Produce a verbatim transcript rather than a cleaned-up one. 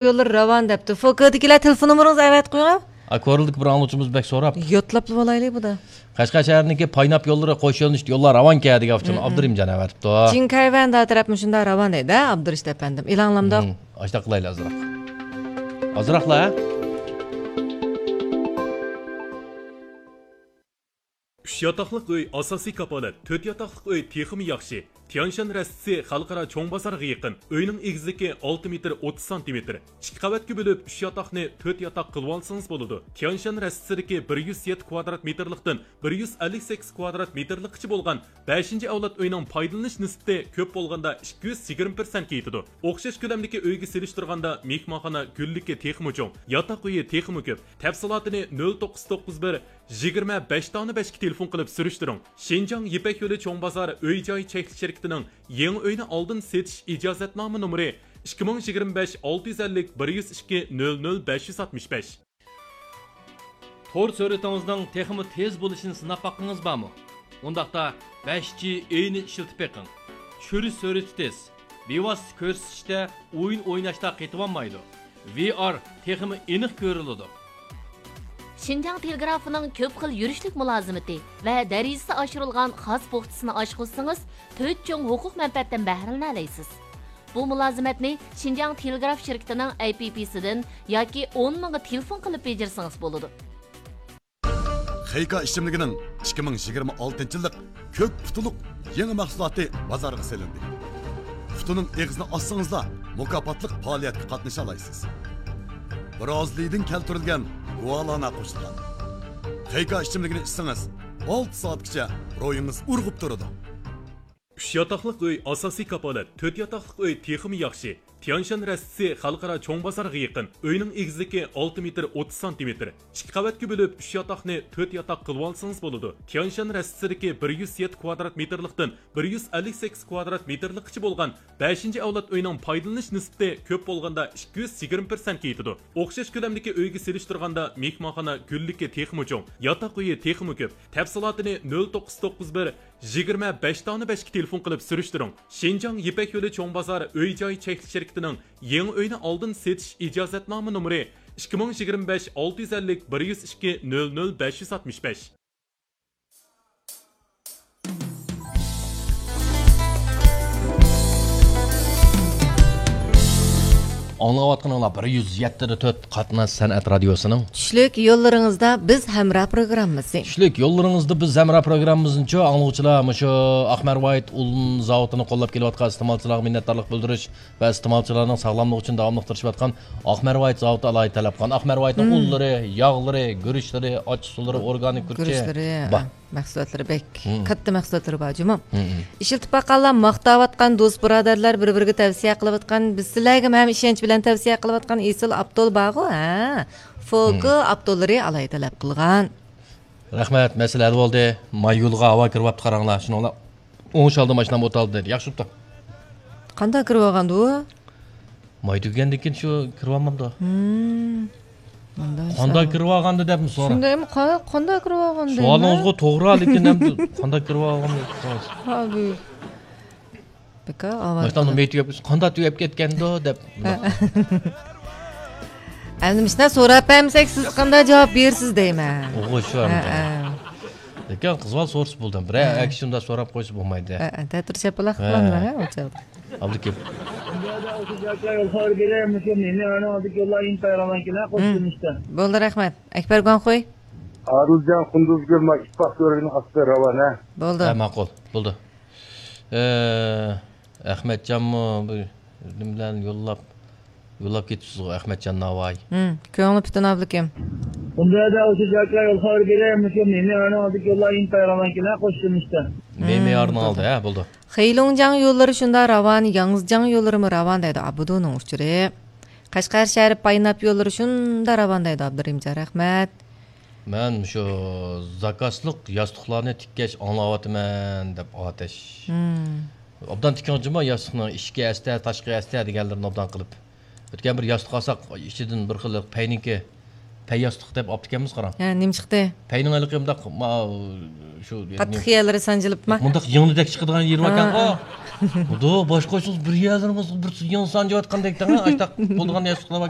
يوللىرى راۋان دەپتۇ. فوكىدىكىلەر تېلېفون نومۇرىڭىزنى ئەۋەتىپ قويۇڭ. ئا، كورلىدىكى بىر ئاڭلىغۇچىمىز بەك سوراپتۇ. يوتلاپلا بولايلى بۇدا. قەشقەر شەھىرىنىڭكى پايناپ يوللىرى قوش يۆنىلىشلىك يوللار راۋانكەن دېگەن ئۇچۇرنى ئابدۇرېھىم جان ئەۋەتىپتۇ. جىنكايۋەن دا تەرەپ مۇشۇنداق راۋان دەيدۇ، ئابدۇرېشىت ئەپەندىم. ئېلان قىلامدۇق؟ ھىم، ئاشۇنداق قىلايلى ئازراق. ئازراقلا، ھە؟ ئۈچ ياتاقلىق ئۆي ئاساسىي كاپالەت، تۆت ياتاقلىق ئۆي تېخىمۇ ياخشى. تيەنشان رەستىسى خەلقئارا چوڭ بازارغا يېقىن. ئۆينىڭ ئېگىزلىكى ئالتە مېتىر ئوتتۇز سانتىمېتىر. ئىككى قەۋەتكە بۆلۈپ، ئۈچ ياتاقنى تۆت ياتاق قىلىۋالسىڭىز بولىدۇ. تيەنشان رەستىسىدىكى بىر يۈز يەتتە كۋادرات مېتىرلىقتىن بىر يۈز ئەللىك سەككىز كۋادرات مېتىرلىققىچە بولغان بەشىنچى ئەۋلاد ئۆينىڭ پايدىلىنىش نىسبىتى كۆپ بولغاندا ئىككى يۈز يىگىرمە پىرسەنتكە يېتىدۇ. ئوخشاش كۆلەمدىكى ئۆيگە سېلىشتۇرغاندا مېھمانخانا گۈللۈكى تېخىمۇ چوڭ، ياتاق ئۆيى تېخىمۇ كۆپ. تەپسىلاتىنى نۆل توققۇز توققۇز بىر، يىگىرمە بەش دانە بەشكە تېلېفون قىلىپ سۈرۈشتۈرۈڭ. شىنجاڭ يىپەك يولى چوڭ بازار ئۆي جاي چەكلىك شىركىتىنىڭ يېڭى ئۆينى ئالدىن سېتىش ئىجازەتنامە نومۇرى ئىككى مىڭ يىگىرمە بەش ئالتە يۈز ئەللىك بىر يۈز ئىككى نۆل نۆل بەش يۈز ئاتمىش بەش. تور سۈرئىتىڭىزنىڭ تېخىمۇ تېز بولۇشىنى سىناپ باققىڭىز بارمۇ؟ ئۇنداقتا بەش جى ئېينى ئىشلىتىپ بېقىڭ. چۈشۈرۈش سۈرئىتى تېز. بىۋاسىتە كۆرسىتىشتە ئويۇن ئويناشتا قېتىۋالمايدۇ. ۋى ئار تېخىمۇ ئېنىق كۆرۈلىدۇ. شىنجاڭ تېلېگرافىنىڭ كۆپ خىل يۈرۈشلۈك مۇلازىمىتى ۋە دەرىجىسى ئاشۇرۇلغان خاس بوختىسىنى ئاچقۇزسىڭىز، تۆت چوڭ ھوقۇق مەنپەئەتتىن بەھرىلىنەلەيسىز. بۇ مۇلازىمەتنى شىنجاڭ تېلېگراف شىركىتىنىڭ ئەپ پىسىدىن ياكى ئون مىڭغا تېلېفون قىلىپ بېجىرسىڭىز بولىدۇ. خېيكا ئىچىملىكىنىڭ ئىككى مىڭ يىگىرمە ئالتىنچى يىللىق كۆك پۇتىلۇق يېڭى مەھسۇلاتى بازارغا سېلىندى. پۇتىنىڭ ئېغىزىنى ئاچسىڭىزلا، مۇكاپاتلىق پائالىيەتكە قاتنىشالايسىز. برازىلىيىدىن كەلتۈرۈلگەن گۇالانا قوشۇلغان. خېيكا ئىچىملىكىنى ئىچسىڭىز، ئالتە سائەتكىچە روھىڭىز ئۇرغۇپ تۇرىدۇ. ئۈچ ياتاقلىق ئۆي ئاساسىي كاپالەت، تۆت ياتاقلىق ئۆي تېخىمۇ ياخشى. تيەنشان رەستىسى خەلقئارا چوڭ بازارغا يېقىن. ئۆينىڭ ئېگىزلىكى ئالتە مېتىر ئوتتۇز سانتىمېتىر. ئىككى قەۋەتكە بۆلۈپ، ئۈچ ياتاقنى تۆت ياتاق قىلىۋالسىڭىز بولىدۇ. تيەنشان رەستىسىدىكى بىر يۈز يەتتە كۋادرات مېتىرلىقتىن بىر يۈز ئەللىك سەككىز كۋادرات مېتىرلىققىچە بولغان بەشىنچى ئەۋلاد ئۆينىڭ پايدىلىنىش نىسبىتى كۆپ بولغاندا ئىككى يۈز يىگىرمە پىرسەنتكە يېتىدۇ. ئوخشاش كۆلەمدىكى ئۆيگە سېلىشتۇرغاندا مېھمانخانا گۈللۈكى تېخىمۇ چوڭ، ياتاق ئۆيى تېخىمۇ كۆپ. تەپسىلاتىنى نۆل توققۇز توققۇز بىر، يىگىرمە بەش دانە بەشكە تېلېفون قىلىپ سۈرۈشتۈرۈڭ. شىنجاڭ يىپەك يولى چوڭ بازار ئۆي جاي چەكلىك شىركىتىنىڭ يېڭى ئۆينى ئالدىن سېتىش ئىجازەتنامە نومۇرى ئىككى مىڭ يىگىرمە بەش ئالتە يۈز ئەللىك بىر يۈز ئىككى نۆل نۆل بەش يۈز ئاتمىش بەش. ئاڭلاۋاتقىنىڭلار بىر يۈز يەتتە تۆت قاتناش سەنئەت رادىيوسىنىڭ چۈشلۈك يوللىرىڭىزدا بىز ھەمراھ پروگراممىسى. چۈشلۈك يوللىرىڭىزدا بىز ھەمراھ پروگراممىمىزنىچۇ ئاڭلىغۇچىلار مۇشۇ ئاقمەرۋايىت ئۇن زاۋۇتىنى قوللاپ كېلىۋاتقان ئىستېمالچىلارغا مىننەتدارلىق بىلدۈرۈش ۋە ئىستېمالچىلارنىڭ ساغلاملىقى ئۈچۈن داۋاملىق تىرىشىۋاتقان ئاقمەرۋايىت زاۋۇتى ئالاھىدە تەلەپ قىلغان. ئاقمەرۋايىتنىڭ ئۇنلىرى، ياغلىرى، گۈرۈچلىرى، ئاچچىق سۇلىرى، ئورگانىك گۈرۈچى گۈرۈچلىرى، بار. مەھسۇلاتلىرى بەك كاتتا مەھسۇلاتلىرى بار جۇمۇ. ئىشلىتىپ باققانلار ماختاۋاتقان، دوست بۇرادەرلەر بىر بىرىگە تەۋسىيە قىلىۋاتقان، بىز سىلەرگىمۇ ھەم ئىشەنچ بىلەن تەۋسىيە قىلىۋاتقان ئېسىل ئاپتول بارغۇ، ھە؟ فوكى ئاپتوللىرى ئالاھىدە تەلەپ قىلغان. رەھمەت، مەسىلە ھەل بولدى. ماي يولغا ھاۋا كىرىۋاپتۇ، قاراڭلار. شۇنىڭ بىلەن ئوڭشالدىم، ماشىنام ئولتۇرالدى دەيدۇ. ياخشى بوپتۇ. قانداق كىرىۋالغاندۇ ئۇ؟ ماي تۈگىگەندىن كېيىن شۇ كىرىۋالمامدۇ؟ مۇنداق قانداق كىرىۋالغاندۇ دەپمۇ سورا. شۇنداقمۇ قا-، قانداق كىرىۋالغاندۇ؟ سوئالىڭىزغۇ توغرا، لېكىن ئەمدى قانداق كىرىۋالغاندۇ؟ ھا، بۇ بىكار ئاۋارە ماشىنامنىڭ مېيى تۈگەپ، قانداق تۈگەپ كەتكەندۇ دەپ. ئەمدى مۇشۇنداق سوراپ بەرمىسەك، سىز قانداق جاۋاب بېرىسىز دەيمەن. ئوغۇ شۇ. لېكىن قىز بالا سورىسا بولدى. بىرەر ئەكسى شۇنداق سوراپ قويسا بولمايدۇ. تەتۈر شاپىلاق قىلامدۇ، ھە، ئۇ چاغدا. ئابدۇكىم. بولدى، رەھمەت. ئەكبەر گۇاڭخۇي. ئادىلجان قۇندۇزگۈل، ما ئىتتىپاق كۆۋرۈكىنىڭ ئاستىدا راۋان، ھە؟ بولدى. ھە، ماقۇل، بولدى. ئە، ئەخمەتجانمۇ بىر نېمە بىلەن يوللاپ، يوللاپ كېتىپسىزغۇ، ئەخمەتجان ناۋاي. ھىم، كۆڭلى پۈتۈن ئابلىكىم. ئۇنداقتا ئاشۇ جاكا يولغا بېرەي، مۇشۇ مېمىيارنىڭ ئالدىدىكى يوللار ئىنتايىن راۋانكەن، ھە، قوشتىن ئىشتە. مېمىيارنىڭ ئالدى، ھە، بولدى. خېيلۇڭجياڭ يوللىرى شۇنداق راۋان، ياڭزىجياڭ يوللىرىمۇ راۋان دەيدۇ ئابىدۇنىڭ ئۇچۇرى. قەشقەر شەھىرى پايناپ يوللىرى شۇنداق راۋان دەيدۇ ئابدۇرېھىمجان، رەھمەت. مەن مۇشۇ زاكازلىق ياستۇقلارنى تىككەچ ئاڭلاۋاتىمەن دەپ ئاتەش. ھىم. ئوبدان تىكىڭ جۇمۇ ياستۇقنىڭ ئىچكى ئەستە، تاشقى ئەستە دېگەنلىرىنى ئوبدان قىلىپ. ئۆتكەن بىر ياستۇق ئالساق، ئىچىدىن بىر خىل پەينىڭكى، پەي ياستۇق دەپ ئاپتىكەنمىز، قاراڭ. ھە، نېمە چىقتى؟ پەينىڭ ھېلىقى مۇنداق، ما-، شۇ، قاتتىق يەرلىرى سانجىلىپمۇ؟ مۇنداق يىڭنىدەك چىقىدىغان يېرى باركەنغۇ. ھە، ھە. خۇدا، باش قوشسىڭىز بىر يەرلىرىڭىز بىر يىڭسان دەۋاتقاندەك دەڭ، ئاشتاق بولىدىغان نەرسە قىلىۋاتقان.